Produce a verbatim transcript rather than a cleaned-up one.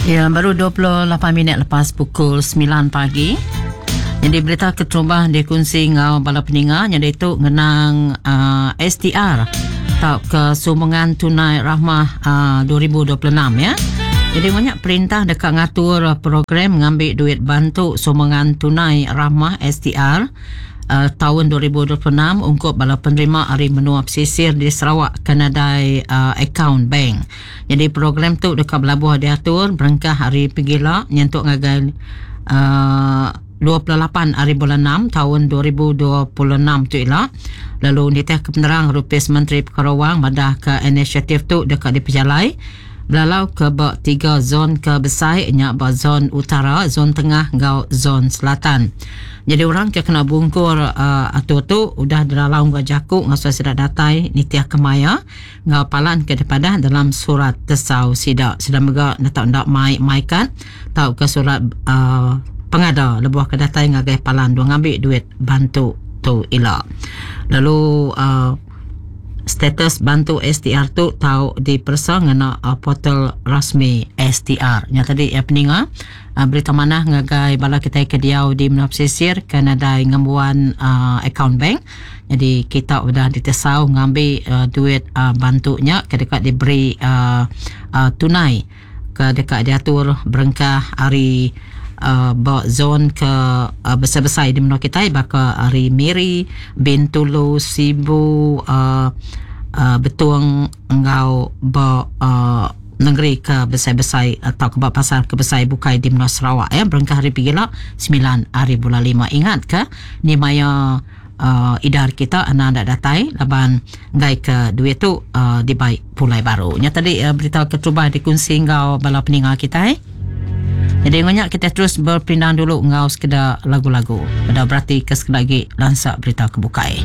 Ya, baru dua puluh lapan minit lepas pukul sembilan pagi. Jadi berita keterubah dikunsi ngau bala peninga jadi itu ngenang uh, S T R atau ke sumbangan tunai rahmah uh, dua ribu dua puluh enam ya. Jadi banyak perintah dekat ngatur program ngambil duit bantu sumbangan tunai rahmah S T R uh, tahun dua ribu dua puluh enam untuk bala penerima hari menua pesisir di Sarawak kena dai uh, account bank. Jadi program tu dekat belabuh diatur berengkah hari pegila nyentuk ngagai uh, dua puluh lapan hari bulan enam tahun dua ribu dua puluh enam tu ialah. Lalu nitih ke penerang Rupis Menteri Perkara Wang madah ke inisiatif tu dekat dipejalai belalau ke bak tiga zon ke besar nyak bak zon utara, zon tengah ngau zon selatan. Jadi orang ke kena bungkur uh, atur tu udah delalau ngau jakuk ngau sudah datai nitiah kemaya ngau palan ke depadah dalam surat tesau sidak. Sedang mega nak ndak mai maikan tau ke surat uh, pengada lebuh ke datai ngagai palan dua ngambil duit bantu tu ila. Lalu uh, status bantu S T R tu tau dipersa ngena uh, portal rasmi S T R. Nya tadi ya peninga uh, berita manah ngagai bala kita ke diau di menua pesisir kena dai ngembuan uh, account bank. Jadi kita sudah ditesau ngambil uh, duit uh, bantunya ke dekat diberi uh, uh, tunai ke dekat diatur berengkah hari Uh, bak zon ke uh, besar-besar di menua kita baka hari Miri, Bintulu, Sibu, uh, uh, Betung ngau bak uh, negeri ke besar-besar atau ke bak pasar ke besar bukai di menua Sarawak ya berengkah hari pigila sembilan hari bulan lima. Ingat ke ni maya uh, idar kita anak dak datai laban ngai ke duit tu uh, dibaik pulai baru. Nya tadi uh, berita keterubah dikunsi ngau bala peninga kita eh. Jadi banyak kita terus berpindah dulu ngau sekedar lagu-lagu. Pada berarti ke sekali lagi lansak berita kebukai.